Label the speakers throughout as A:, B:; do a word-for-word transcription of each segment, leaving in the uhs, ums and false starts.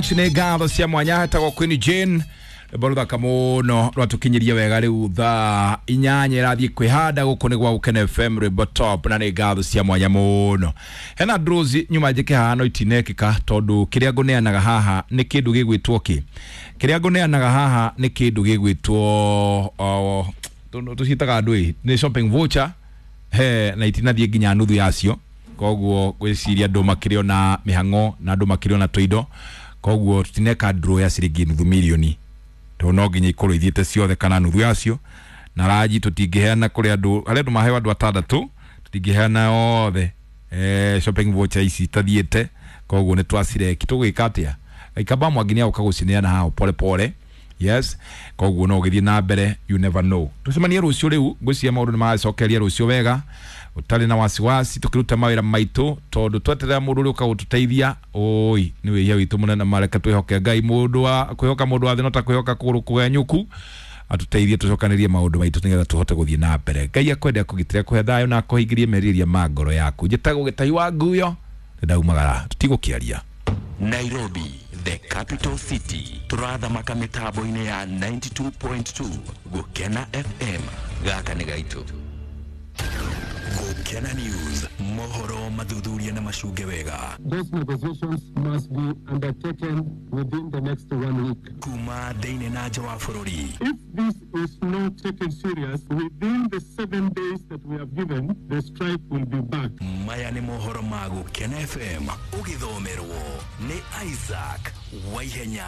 A: Nĩ ngatho cia mwanya hetagwo Queen Jane rwĩmbo rũthaka mũno rwatũkinyirie wega rĩu thaa inyanya ĩrathiĩ kwĩhanda gũkũ nĩ gwa Gũkena F M rwĩmbo top na nĩ ngatho cia mwanya mũno. Hena draws nyuma njĩke haha no itinekĩka tondũ kĩrĩa ngũneanaga haha nĩ kĩndũ gĩgwĩtwo kĩ kĩrĩa ngũneanaga haha nĩ kĩndũ gĩgwĩtwo tũciĩtaga andũ ĩ nĩ shopping voucher he na itinathiĩ nginya nuthu yacio koguo gwĩciria andũ makĩrĩ ona mĩhang'o na andũ makĩrĩ ona tũindo koguo tutineka draw ya ciringi nuthu milioni to no nginya ikorwo ithiĩte ciothe kana nuthu yacio na raji tũtingĩheana kũrĩ andũ arĩa andũ maheo andũ atandatũ tũtingĩheana othe eh, shopping voucher ici itathiĩte koguo nĩ twacireki tũgwĩka atĩa Ikamba Mwangi nĩ agũka gũcineana haha pole pole yes koguo no ũgĩthiĩ na mbere you never know tũcemanie rũciũ rĩu ngwĩciria maũndũ nĩ magacokeria rũciũ wega ũtarĩ na wasiwasi tũkĩruta mawĩra maitũ tondũ tweterera mũndũ ũrĩa ũka gũtũteithia oi nĩ wĩhia witũ mũnene mareke twĩhoke Ngai mũndũ wa kwĩhoka mũndũ wa thĩ no ta kwĩhoka kũgũrũ kũgenyũku atũteithie tũcokanĩrie maũndũ maitũ nĩgetha tũhote gũthiĩ na mbere. Ngai akwende akũgitĩre akũhe thayũ na akũhingĩrie merirĩria ma ngoro yaku. Njĩtagwo Gĩtahi wa Nguyo nĩndaumagara tũtigũkĩaria.
B: Nairobi, the capital city, turathamaka mitambo-inĩ ya ninety-two point two Gũkena F M gaka nĩ gaitũ.
C: Gũkena News, mohoro mathuthuria na macunge wega.
D: Those negotiations must be undertaken within the next one week.
C: Kuma thĩinĩ na nja wa bũrũri.
D: If this is not taken serious, within the seven days that we have given, the strike will be back.
C: Maya nĩ mohoro ma Gũkena F M, ũgĩthomerwo nĩ Isaac Waihenya.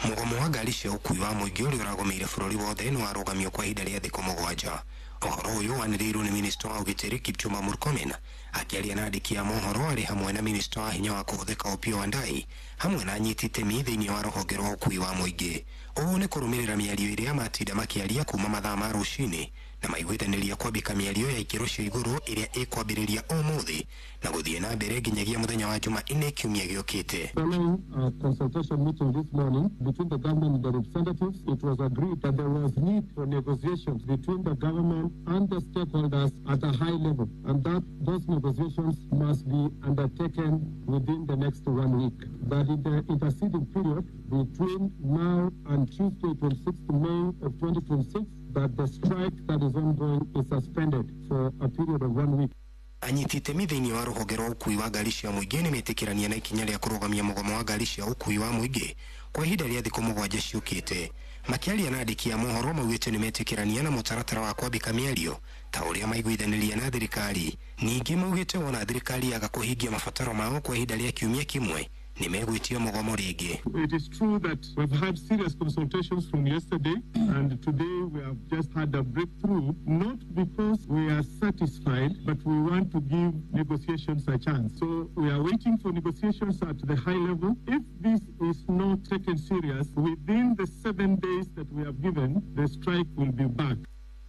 E: Mũgomo wa ngari cia ũkuui wa mũingĩ ũrĩa ũragomeire bũrũri wothe nĩ warũgamio kwa ihinda rĩa thikũ mũgwanja. Ũhoro ũyũ wanĩrĩirwo nĩ minista wa ũgitĩri Kipchumba Murkomen akĩaria na andĩki a mohoro arĩ hamwe na minista wa hinya wa kũhũthĩka Opiyo Wandayi hamwe na anyiti itemi thĩinĩ wa rũhonge rwa ũkuui wa mũingĩ. Ũũ nĩ kũrũmĩrĩra mĩario ĩrĩa matinda makĩaria kuma mathaa ma rũcinĩ na maiguithanĩria kwambĩka mĩario ya ikĩro cia igũrũ ĩrĩa ĩkwambĩrĩria ũmũthĩ na gũthiĩ na mbere nginyagia mũthenya wa Jumanne kiumia gĩũkĩte.
D: Following a consultation meeting this morning between the government and the representatives, it was agreed that there was need for negotiations between the government and the stakeholders at a high level, and that those negotiations must be undertaken within the next one week. That in the interceding period between now and Tuesday, twenty-sixth May of twenty twenty-six, that the strike that is ongoing is suspended for a period of one week.
E: Anyiti itemi thĩinĩ wa rũhonge rwa ũkuui wa ngari cia mũingĩ nĩ metĩkĩrania na ikinya rĩa kũrũgamia mũgomo wa ngari cia ũkuui wa mũingĩ kwa ihinda rĩa thikũ mũgwanja ciũkĩte. Makĩaria na andĩki a mohoro maugĩte nĩ metĩkĩrania na mũtaratara wa kwambĩka mĩario ta ũrĩa maiguithanĩria na thirikari. Ningĩ maugĩte wona thirikari yaga kũhingia mabataro mao kwa ihinda rĩa kiumia kĩmwe nĩ megwĩtia mũgomo rĩngĩ.
D: It is true that we've had serious consultations from yesterday, and today we have just had a breakthrough, not because we are satisfied, but we want to give negotiations a chance. So we are waiting for negotiations at the high level. If this is not taken serious, within the seven days that we have given, the strike will be back.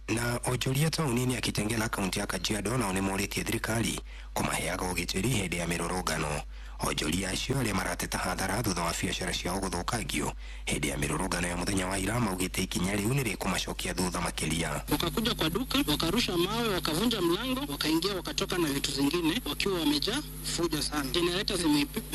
E: Na onjoria taũni-inĩ ya Kitengela kaunti ya Kajiado nao nĩmorĩtie thirikari kũmaheaga ũgitĩri hĩndĩ ya mĩrũrũngano. Onjoria acio arĩa marateta hathara thutha wa biacara ciao gũthũkangio hĩndĩ ya mĩrũrũngano ya mũthenya wa ira maugĩte ikinya rĩu nĩ rĩkũmacokia thutha makĩria.
F: Wakakuja kwa duka, wakarusha mawe, wakavunja mlango, wakaingia, wakatoka na vitu zingine wakiwa wamejaa fujo sana. Generator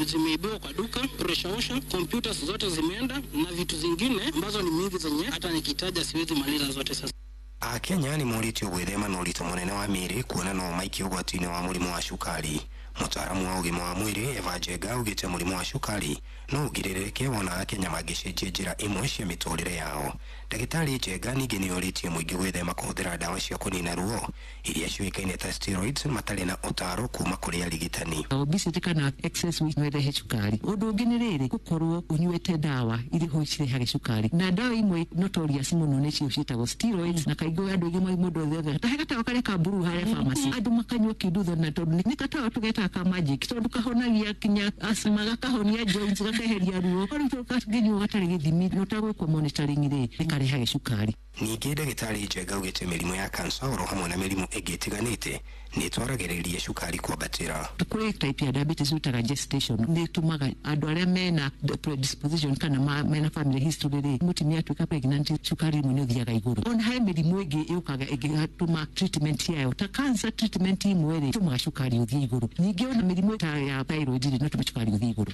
F: zimeibiwa kwa duka, pressure washer, computers zote zimeenda na vitu zingine ambazo ni mingi zenye hata nikitaja siwezi maliza zote sasa.
E: Akenya nĩ morĩtio gwĩthema na ũritũ mũnene wa mĩĩrĩ kuona no maikio ũgwati-inĩ wa mũrimũ wa cukari. Mũtaaramu wa ũgima wa mwĩrĩ Eva Njenga augĩte mũrimũ wa cukari no ũgirĩrĩke wona Akenya mangĩcenjia njĩra imwe cia mĩtũrĩre yao. Ndagĩtarĩ Njenga ningĩ nĩ orĩtie mũingĩ gwĩthema kũhũthĩra ndawa cia kũnina ruo iria ciũĩkaine ta steroids matarĩ na ũtaaro kuma kũrĩ arigitani.
G: Obesity kana excess weight no ĩrehe cukari. Ũndũ ũngĩ nĩ rĩrĩ gũkorwo ũnyuĩte ndawa iria ho cirehaga cukari, na ndawa imwe notorious mũno nĩcio ciĩtagwo steroids, na kaingĩ andũ aingĩ mũndũ othe ta he gatawa karĩa ka mburu harĩa pharmacy andũ makanyua kĩndutho, na tondũ nĩ gatawa tũgetaga ka magic tondũ kahonagia kinya asthma, gakahonia joints, gakeheria ruo. Rĩu kangĩnyuo gatarĩ gĩthimi na ũtagwĩkwo monitoring rĩ nĩ karehaga cukari.
E: Ningĩ ndagĩtarĩ Njenga augĩte mĩrimũ ya kansa oro hamwe na mĩrimũ ĩngĩ ĩtiganĩte nĩ ĩtwaragĩrĩria cukari kwambatĩra.
G: Kũrĩ type ya diabetes ĩtaga gestation, nĩ ĩtũmaga andũ arĩa mena predisposition kana mena family history rĩ, mũtumia atuĩka pregnant cukari imwe nĩ ũthiaga igũrũ. Ona he mĩrimũ ĩngĩ ĩũkaga ĩngĩtũma treatment yayo ta cancer treatment imwe rĩ ĩtũmaga cukari ũthiĩ igũrũ. Ningĩ ona mĩrimũ ta ya thyroid rĩ no ĩtũme cukari ũthiĩ igũrũ.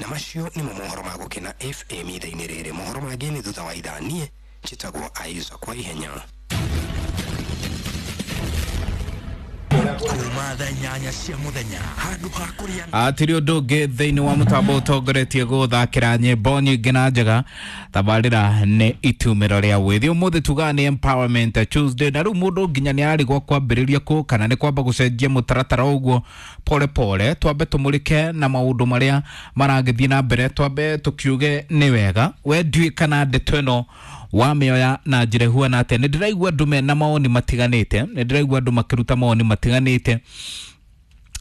E: Na macio nĩmo mohoro ma Gũkena F M ithaa-inĩ rĩrĩ. Mohoro mangĩ nĩ thutha wa ithaa. Niĩ njĩtagwo Isaac kwa ihenya.
C: Kuma thaa inyanya cia muthenya handu ha kuria
H: atiri undu ungi thiini wa mutambo utongoretie guthakira nyimbo nyingi na njega tabarira ni itumiro ria withi. Umuthi tugaga ni Empowerment Tuesday, na riu mundu nginya ni arigwo kwambiriria ku kana ni kwamba gucenjia mutaratara uguo pole pole. Twambe tumurike na maundu maria maragithie na mbere, twambe tukiuge ni wega. We ndiui kana ndeto ino wamĩoya na njĩra ĩhuana atĩa. Nĩ ndĩraigua andũ mena mawoni matiganĩte, nĩ ndĩraigua andũ makĩruta mawoni matiganĩte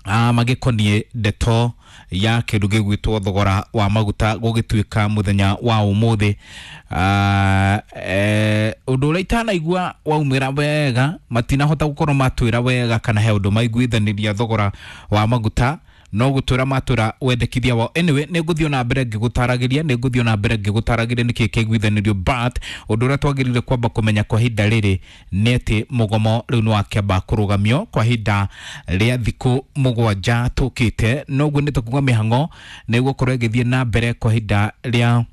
H: ah magĩkoniĩ ndeto ya kĩndũ gĩgwĩtwo thogora wa maguta gũgĩtuĩka mũthenya wa ũmũthĩ. Ah eh ũndũ ũrĩa itanaigua waumĩra wega, matinahota gũkorwo matwĩra wega kana he ũndũ maiguithanĩria thogora wa maguta, no gutwira matura wendekithia wao. Anyway, nĩ ngũthiĩ na mbere ngĩgũtaragĩria, nĩ ngũthiĩ na mbere ngĩgũtaragĩria nĩkĩ kĩiguithanĩrio, but ũndũ ũrĩa twagĩrĩire kwamba kũmenya kwa ihinda rĩrĩ nĩ atĩ mũgomo rĩu nĩ wakĩamba kũrũgamio kwa ihinda rĩa thikũ mũgwanja tũkĩte. Noguo nĩ tũkuga mĩhang'o nĩ ĩgũkorwo ĩgĩthiĩ na mbere kwa ihinda rĩa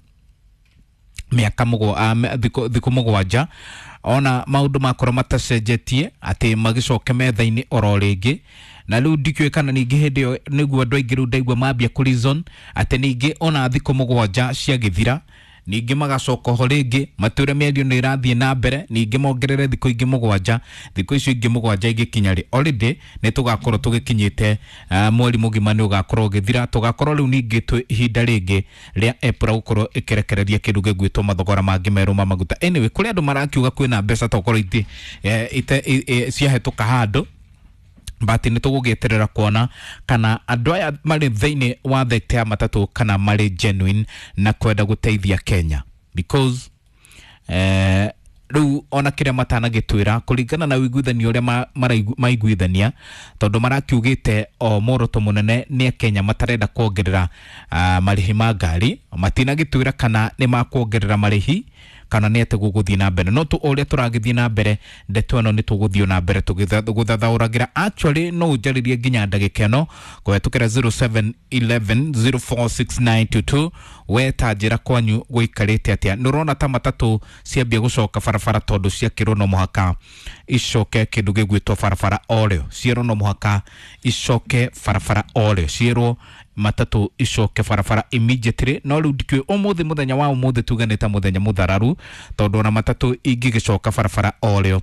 H: mĩaka mũgwa thikũ mũgwanja, ona maũndũ makorwo matacenjetie atĩ magĩcoke metha-inĩ oro rĩngĩ. Na rĩu ndikĩũĩ kana ningĩ hĩndĩ ĩyo nĩguo andũ aingĩ rĩu ndaigua mambia kũ reason atĩ ningĩ ona thikũ mũgwanja ciagĩthira ningĩ magacoka ho rĩngĩ matwĩre mĩario nĩ ĩrathiĩ na mbere, ningĩ mongerere thikũ ingĩ mũgwanja. Thikũ icio ingĩ mũgwanja ingĩkinya rĩ, already nĩ tũgakorwo tũgĩkinyĩte uh, mweri mũgima nĩ ũgakorwo ũgĩthira. Tũgakorwo rĩu ningĩ twĩ ihinda rĩngĩ rĩa EPRA gũkorwo ĩkĩrekereria kĩndũ gĩgwĩtwo mathogora mangĩ merũ ma maguta. Anyway, kũrĩ andũ marakiuga kwĩna mbeca tokorwo itĩ eh, ite ciahĩtũka handũ, but nĩ tũgũgĩeterera kuona kana andũ aya marĩ thĩinĩ wa thekta ya matatũ kana marĩ genuine na kwenda gũteithia Kenya, because eh, rĩu ona kĩrĩa matanagĩtwĩra kũringana na ũiguithanio ũrĩa maiguithania, tondũ marakiugĩte o muoroto mũnene nĩ Kenya matarenda kuongerera uh, marĩhi ma ngari, matinagĩtwĩra kana nĩ makuongerera marĩhi kana nĩ atĩ gũgũthiĩ na mbere. No tu ũrĩa tũragĩthiĩ na mbere ndeto ĩno nĩ tũgũthiĩ na mbere tũgĩthathaũragĩra. Actually no ũnjarĩrie nginya ndagĩka ĩno kũhetũkĩra zero seven eleven zero four six nine two two. We ta njĩra kwanyu gũikarĩte atĩa? Nĩ ũrona ta matatũ ciambia gũcoka barabara tondũ ciakĩrwo no mũhaka icoke kĩndũ gĩgwĩtwo barabara orĩo, cierwo no mũhaka icoke barabara orĩo, cierwo matatũ icoke barabara immediately. No rĩu ndikĩũĩ ũmũthĩ, mũthenya wa ũmũthĩ tuge nĩ ta mũthenya mũthararu, tondũ ona matatũ ingĩgĩcoka barabara orĩo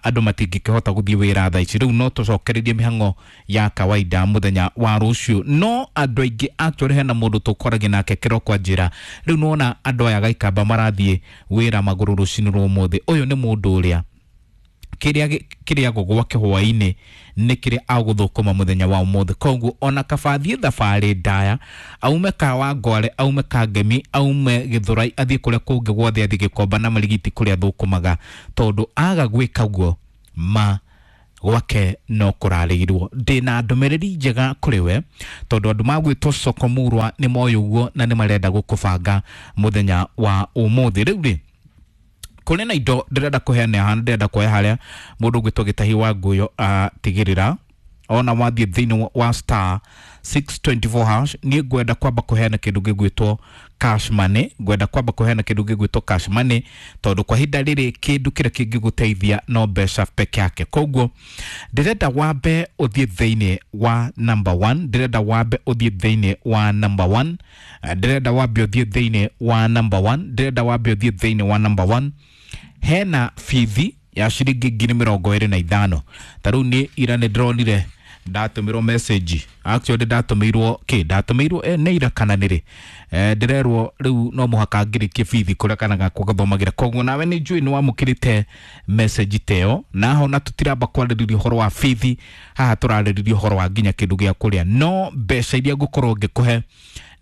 H: andũ matingĩkĩhota gũthiĩ wĩra thaa ici. Rĩu no tũcokererie mĩhang'o ya kawaida mũthenya wa rũciũ. No andũ aingĩ actually hena mũndũ tũkoragia nake kĩroko anjĩra rĩu nĩwona andũ aya Gaikamba marathiĩ wĩra magũrũ rũcinĩ rwa ũmũthĩ. Ũyũ nĩ mũndũ ũrĩa kĩrĩa kĩrĩagwo gwake hwaĩ-inĩ nĩ kĩrĩa agũthũkũma mũthenya wa ũmũthĩ. Koguo ona kaba athiĩ thabarĩ ndaya, aume Kawangware, aume Kangemi, aume Gĩthũrai, athiĩ kũrĩa kũngĩ guothe, athiĩ Gĩkomba na Marigiti kũrĩa athũkũmaga, tondũ aga gwĩka ũguo ma gwake no kũrarĩirwo. Ndĩna ndũmĩrĩri njega kũrĩ we, tondũ andũ magwĩtwo Soko Murwa nĩ moĩ ũguo na nĩ marenda gũkũbanga mũthenya wa ũmũthĩ. Rĩu rĩ, kũrĩ na indo ndĩrenda kũheana haha, ndĩrenda kuoya harĩa mũndũ ũgwĩtwo Gĩtahi wa Nguyo atigĩrĩra ona wathiĩ thĩinĩ wa star six twenty four hash. Niĩ ngwenda kwamba kũheana kĩndũ gĩgwĩtwo cash money, ngwenda kwamba kũheana kĩndũ gĩgwĩtwo cash money, tondũ kwa ihinda rĩrĩ kĩndũ kĩrĩa kĩngĩgũteithia no mbeca peke yake. Koguo ndĩrenda wambe ũthiĩ thĩinĩ wa number one, ndĩrenda wambe ũthiĩ thĩinĩ wa number one, ndĩrenda wambe ũthiĩ thĩinĩ wa number one, ndĩrenda wambe ũthiĩ thĩinĩ wa number one. Hena bithi ya ciringi ngiri mĩrongo ĩrĩ na ithano. Ta rĩu niĩ ira nĩ ndĩronire ndatũmĩrwo message, actually ndatũmĩirwo kĩ ndatũmĩirwo eh, nĩ ira kana nĩrĩ eh, ndĩrerwo rĩu no mũhaka ngĩrĩkie bithi kũrĩa kana gakwa gathomagĩra. Koguo nawe nĩ njũĩ nĩ wamũkĩrĩte message ta ĩyo, naho na tũtiramba kwarĩrĩria ũhoro wa bithi haha, tũrarĩrĩria ũhoro wa nginya kĩndũ gĩa kũrĩa. No mbeca iria ngũkorwo ngĩkũhe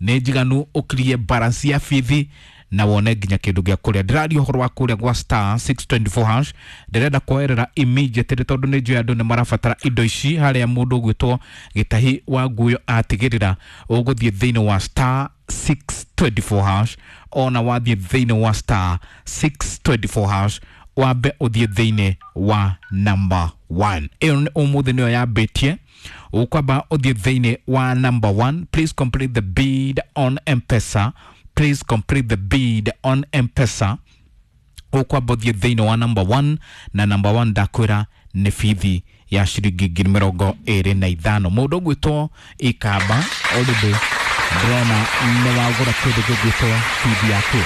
H: nĩ njiganu ũkirie balance ya bithi na wone nginya kindu gia kuria. Ndiraria uhoro wa kuria gwa star six twenty four hash, ndirenda kuoerera immediately tondu ni njui andu ni marabatara indo ici. Haria mundu ugwitwo Gitahi wa Nguyo atigirira uguthie thiini wa star six twenty four hash, ona wathie thiini wa star six twenty four hash Wambe ũthiĩ thĩinĩ wa number one. Ĩyo nĩ ũmũthĩ nĩyo yambĩtie. Ũkwamba ũthiĩ thĩinĩ wa number one. Please complete the bid on M-Pesa. Please complete the bid on M-Pesa. Ũkwamba ũthiĩ thĩinĩ wa number one, na number one ndakwĩra nĩ bithi ya ciringi ngiri mĩrongo ĩrĩ na ithano. Mũndũ ũgwĩtwo Ikamba already ndĩrona nĩ wagũra kĩndũ gĩgwĩtwo bithi yaku,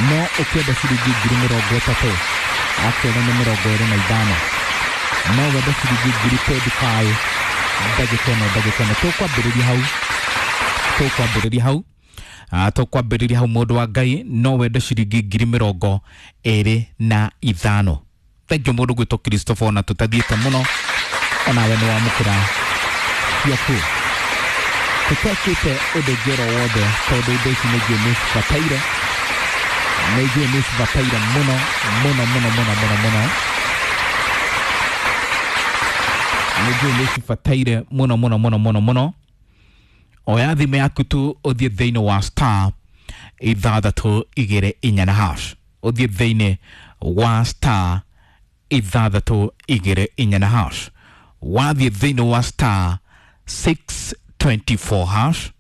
H: no ũkĩenda ciringi ngiri mĩrongo ĩtatũ akĩona nĩ mĩrongo ĩrĩ na ithano, no wende ciringi ngiri twenty-five ndagĩka ĩno ndagĩka ĩno tũkwambĩrĩria hau tũkwambĩrĩria hau Ah, tũkwambĩrĩria hau mũndũ wa Ngai, no wende ciringi ngiri mĩrongo ĩrĩ na ithano. Thank you mũndũ gwĩtwo Christopher, ona tũtathiĩte mũno onawe nĩ wamũkĩra ciaku. Tũtekĩte ũndũ ũngĩ oro wothe tondũ indo ici nĩ njũĩ nĩ cibataire, nĩ njũĩ nĩ cibataire mũno mũno mũno mũno mũno mũno, nĩ njũĩ nĩ cibataire mũno mũno mũno mũno mũno. Oya thimũ yaku tu ũthiĩ thĩinĩ wa star ithathatũ igĩrĩ inya na hash, ũthiĩ thĩinĩ wa star ithathatũ igĩrĩ inya na hash. Wathiĩ thĩinĩ wa star six twenty-four hash,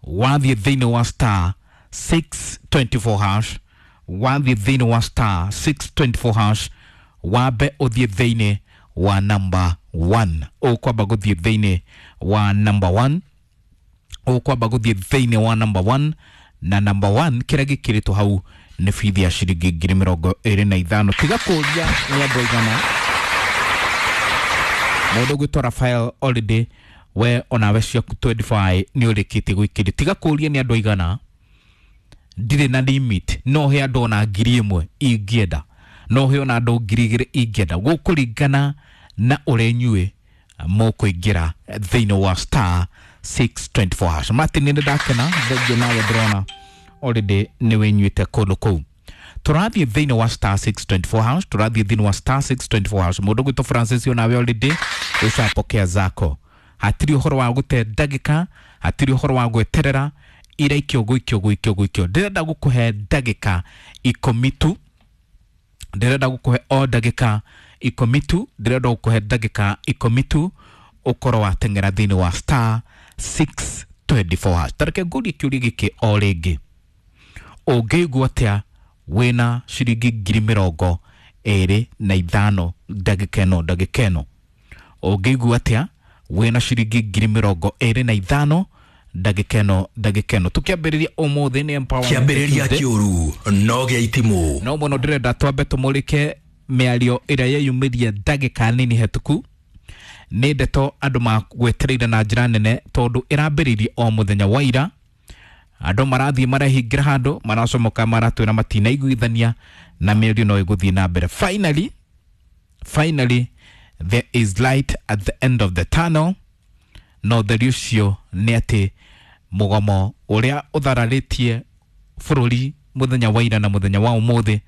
H: wathiĩ thĩinĩ wa star six twenty-four hash, wathiĩ thĩinĩ wa star six twenty-four hash, wambe ũthiĩ thĩinĩ wa number one. Ũkwamba gũthiĩ thĩinĩ wa number one, ũkwamba gũthiĩ thĩinĩ wa number one, na number one kĩrĩa gĩkĩrĩtwo hau nĩ bithi ya ciringi ngiri mĩrongo ĩrĩ na ithano. Tiga kũria nĩ andũ aigana. Mũndũ ũgwĩtwo Rafael already we onawe ciaku twenty-five nĩ ũrĩkĩtie gwĩkĩria. Tiga kũria nĩ andũ aigana, ndirĩ na limit, no he andũ ona ngiri ĩmwe ingĩenda, no he ona andũ ngiri igĩrĩ ingĩenda, gũkũringana na ũrĩa inyuĩ mũkũingĩra thĩinĩ wa star six twenty-four hash. Martin, nĩ ndakena thengiũ nawe, ndĩrona already nĩ wĩnyuĩte kũndũ kũu. Tũrathiĩ thĩinĩ wa star six twenty-four hash, tũrathiĩ thĩinĩ wa star six twenty-four hash. Mũndũ ũgwĩtwo Francis onawe already ũcapokea zako. Hatirĩ ũhoro wa gũte ndagĩka, hatirĩ ũhoro wa gweterera, iraikio gũikio gũikio gũikio. Ndĩrenda gũkũhe ndagĩka ikũmi tu, ndĩrenda gũkũhe o ndagĩka ikũmi tu, ndĩrenda gũkũhe ndagĩka ikũmi tu ũkorwo wateng'era thĩinĩ wa star six twenty-four hash. Tareke ngũrie kĩũria gĩkĩ o rĩngĩ, ũngĩigua atĩa wĩna ciringi ngiri mĩrongo ĩrĩ na ithano ndagĩka ĩno ndagĩka ĩno? Ũngĩigua atĩa wĩna ciringi ngiri mĩrongo ĩrĩ na ithano ndagĩka ĩno ndagĩka ĩno? Tũkĩambĩrĩria ũmũthĩ nĩ empowerment
C: Kĩambĩrĩria
H: Tuesday.
C: kĩũru no gĩa itimũ.
H: No mũno ndĩrenda twambe tũmũrĩke mĩario ĩrĩa yeyumĩria ndagĩka nini hetũku. Nĩ ndeto andũ magwetereire na njĩra nene tondũ ĩrambĩrĩirie o mũthenya wa ira. Andũ marathiĩ marehingĩra handũ, maracomoka, maratwĩra matinaiguithania na mĩario no ĩgũthiĩ na mbere. Finally, finally there is light at the end of the tunnel. No ũtheri ũcio nĩ atĩ mũgomo ũrĩa ũthararĩtie bũrũri mũthenya wa ira na mũthenya wa ũmũthĩ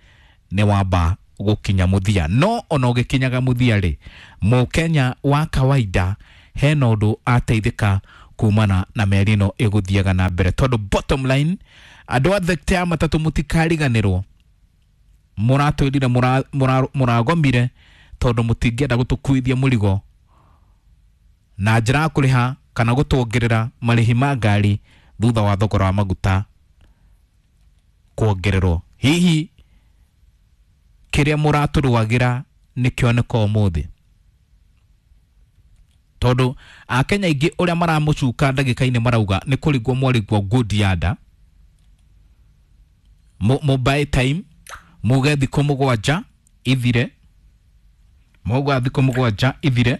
H: nĩ wamba gũkinya mũthia. No ona ũgĩkinyaga mũthia rĩ, mũkenya wa kawaida hena ũndũ ateithĩka kumana na mĩario ĩno ĩgũthiaga na mbere, tondũ bottom line andũ a thekta ya matatũ mũtikariganĩrwo, mũratwĩrire mũragomire tondũ mũtingĩenda gũtũkuithia mũrigo na njĩra ya kũrĩha kana gũtuongerera marĩhi ma ngari thutha wa thogora wa maguta kuongererwo. Hihi kĩrĩa mũratũrũagĩra nĩkĩoneka ũmũthĩ? Tondũ akenya aingĩ ũrĩa maramũcuka ndagĩka-inĩ marauga nĩ kũrigwo mwarigwo good yada mobile time muge thikũ mũgwanja ithire, mauga thikũ mũgwanja ithire,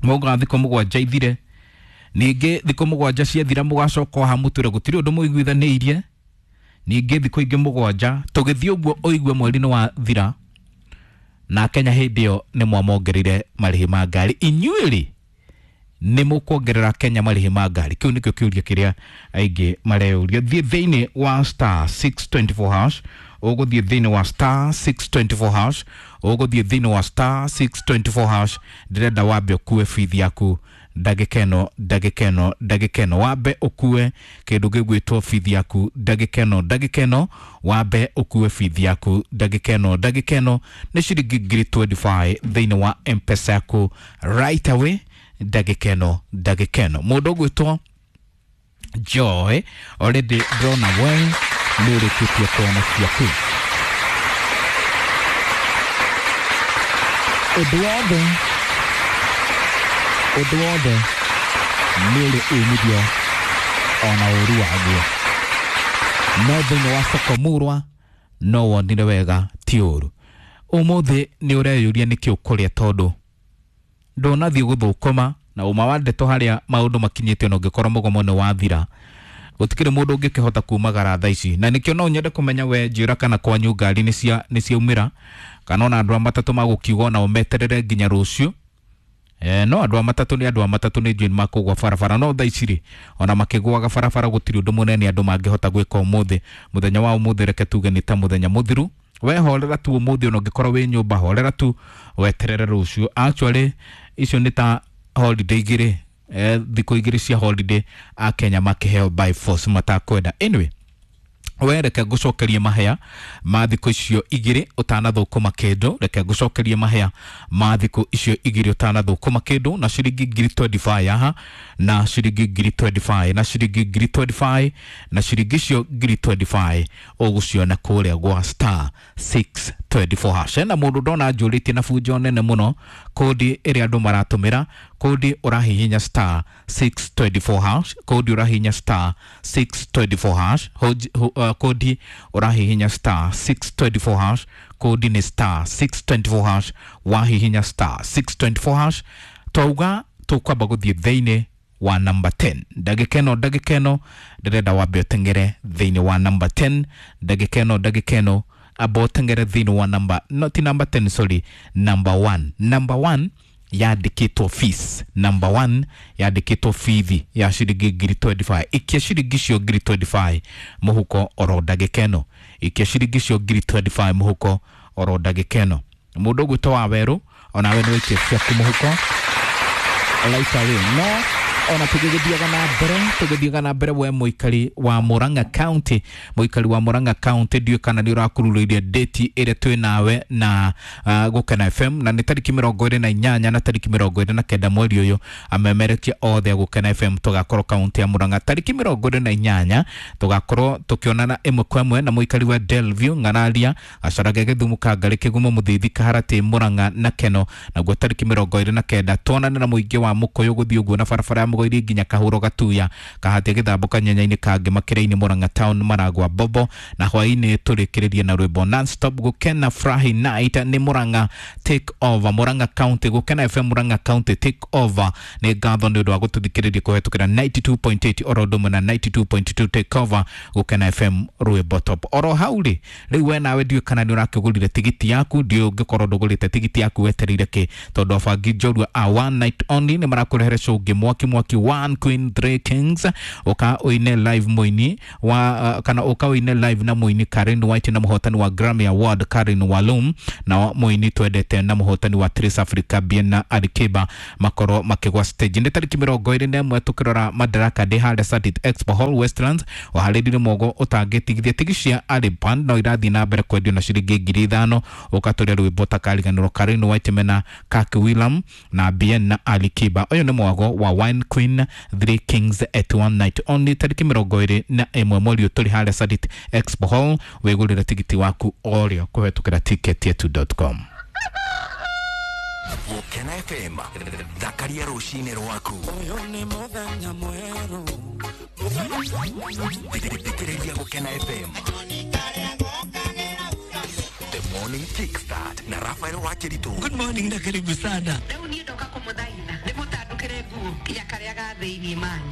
H: mauga thikũ mũgwanja ithire, ningĩ thikũ mũgwanja ciathira mũgacoka o hamũtwĩre gũtirĩ ũndũ mũiguithanĩirie, ningĩ thikũ ingĩ mũgwanja tũgĩthiĩ ũguo ũigue mweri nĩ wathira, na Kenya hĩndĩ ĩyo nĩ mwamongereire marĩhi ma ngari. Inyuĩ rĩ nĩ mũkuongerera Kenya marĩhi ma ngari? Kĩu nĩkĩo kĩũria kĩrĩa aingĩ mareyũria. Thiĩ thĩinĩ wa star six twenty-four hash, ũgũthiĩ thĩinĩ wa star six twenty-four hash, ũgũthiĩ thĩinĩ wa star six twenty-four hash. Ndĩrenda wambe ũkue bithi yaku ndagĩka ĩno ndagĩka ĩno ndagĩka ĩno wambe ũkue kĩndũ gĩgwĩtwo bithi yaku ndagĩka ĩno ndagĩka ĩno wambe ũkue bithi yaku ndagĩka ĩno ndagĩka ĩno nĩ ciringi ngiri mĩrongo ĩrĩ na ithano thĩinĩ wa M-Pesa yaku right away ndagĩka ĩno ndagĩka ĩno. Mũndũ ũgwĩtwo Joy already ndĩrona we nĩ ũrĩkĩtie kuona ciaku. Ũndũ wothe ũndũ wothe nĩ ũrĩ umithio ona ũru waguo, no thĩinĩ wa soko murwa no wonire wega ti ũru. Ũmũthĩ nĩ ũreyũria nĩkĩ ũkũrĩa tondũ ndũnathiĩ gũthũkũma na ũma wa ndeto harĩa maũndũ makinyĩte ona ũngĩkorwo mũgomo nĩ wathira gũtikĩrĩ mũndũ ũngĩkĩhota kumagara thaa ici. Na nĩkĩo no nyende kũmenya we njĩra kana kwanyu ngari nĩ cia nĩ ciaumĩra kana ona andũ a matatũ magũkiuga ona meterere nginya rũciũ. Eh, no andũ a matatũ nĩ andũ a matatũ nĩ njũĩ makũgwa barabara, no thaa ici rĩ ona makĩgũaga barabara gũtirĩ ũndũ mũnene andũ mangĩhota gwĩka ũmũthĩ. Mũthenya wa ũmũthĩ reke tuge nĩ ta mũthenya mũthiru. We horera tu ũmũthĩ ona ũngĩkorwo wĩ nyũmba horera tu weterere rũciũ. Actually icio nĩ ta holiday igĩrĩ, eh, thikũ igĩrĩ cia holiday a Kenya makĩheo by force matakwenda. Anyway, we reke ngũcokerie mahea ma thikũ icio igĩrĩ ũtanathũkũma kĩndũ. Reke ngũcokerie mahea ma thikũ icio igĩrĩ ũtanathũkũma kĩndũ na ciringi ngiri mĩrongo ĩrĩ na ithano haha na ciringi ngiri mĩrongo ĩrĩ na ithano na ciringi ngiri mĩrongo ĩrĩ na ithano na ciringi icio ngiri mĩrongo ĩrĩ na ithano ũgũciona kũrĩa gwa star six twenty-four hash. Na mũndũ ndona njũrĩtie na bunjo nene mũno kodi ĩrĩa andũ maratũmĩra, kodi ũrahihinya star six twenty-four hash, kodi ũrahihinya star six twenty-four hash, hoji, ho, uh, kodi ũrahihinya star six twenty-four hash, kodi ni star six twenty-four hash, wahihinya star six twenty-four hash twauga tũkwamba gũthiĩ thĩinĩ wa number ten ndagĩka ĩno ndagĩka ĩno ndĩrenda wambe ũteng'ere thĩinĩ wa number ten ndagĩka ĩno ndagĩka ĩno amba ũteng'ere thĩinĩ wa number not number ten sorry number one. Number one yandĩkĩtwo fees, number one yandĩkĩtwo bithi ya ciringi ngiri mĩrongo ĩrĩ na ithano. Ikia ciringi icio ngiri mĩrongo ĩrĩ na ithano mũhuko oro ndagĩka ĩno, ikia ciringi icio ngiri mĩrongo ĩrĩ na ithano mũhuko oro ndagĩka ĩno. Mũndũ ũgwĩtwo wa werũ onawe nĩ waikia ciaku mũhuko right away. No ona tugĩgĩthiaga na mbere tugĩthiaga na mbere we mũikari wa Murang'a County, mũikari wa Murang'a County ndiũĩ kana nĩ ũrakururĩirie date ĩrĩa twĩ nawe na uh, Gũkena F M na nĩ tarĩki mĩrongo ĩrĩ na inyanya na tarĩki mĩrongo ĩrĩ na kenda mweri ũyũ. Amemerekia othe a Gũkena F M tũgakorwo kaunti ya Murang'a tarĩki mĩrongo ĩrĩ na inyanya tũgakorwo tũkĩonana ĩmwe kwa ĩmwe na mũikari wa Delview Ng'araria Gacarage Gĩthumo Kangarĩ Kĩgumo Mũthithi Kaharatĩ Murang'a na Keno. Naguo tarĩki mĩrongo ĩrĩ na kenda tuonane na mũingĩ wa Mũkũyũ gũthiĩ ũguo na barabara ya Mũgoiri nginya Kahuro Gatuya Kahatia Gĩthambo Kanyenya-inĩ Kangĩ Makĩra-inĩ Murang'a Town Maragwa Bobo na hwaĩ-inĩ tũrĩkĩrĩrie na rwĩmbo non-stop Gũkena Furahi Night nĩ Murang'a take over Murang'a County Gũkena F M Murang'a County take over. Nĩ ngatho nĩ ũndũ wa gũtũthikĩrĩria kũhetũkĩra ninety-two point eight oro ũndũ ũmwe na ninety-two point two take over Gũkena F M rwĩmbo top. Oro hau rĩ rĩu we nawe ndiũĩ kana nĩ ũrakĩgũrire tigiti yaku, ndiũĩ ũngĩkorwo ndũgũrĩte tigiti yaku wetereire kĩ tondũ abangi njorua a one night only nĩ marakũrehere show ũngĩ mwaki mwaki one queen three kings uka uine live muini wa uh, kana uka uine live na muini Karen White na muhotani wa Grammy Award Karen Walum na muini twendete na muhotani wa Trace Africa Biena Alikiba makorwo makigwa stage nĩ tarĩki mĩrongo ĩrĩ na ĩmwe tukĩrora Madaraka Day harĩa Satit Expo Hall Westlands waharĩrire mwogo ũtangĩtigithia tigi cia Aliban no irathiĩ na mbere kwendio na ciringi ngiri ithano ũkatũria rwĩmbo takariganĩrwo Karen White mena Kaki William na Biena Alikiba. Ũyũ nĩ mwago wa Wine Queen Three Kings at one night only tarĩki mĩrongo ĩrĩ na ĩmwe mweri ũyũ tũrĩ harĩa Sarit Expo Hall wĩgũrĩre tigiti waku orĩo kũhetũkĩra ticket yetu dot com.
C: Gũkena F M thakaria rũcinĩ rwaku.
I: Ũyũ nĩ mũthenya mwerũ.
C: Thikĩrĩria Gũkena F M The Morning Kickstart na Rafael Wakiritu.
I: Good morning na karibu sana.
G: Rĩu niĩ ndoka kũmũthaitha nĩ mũtandũkĩre nguo ya karĩa ga thĩinĩ mani.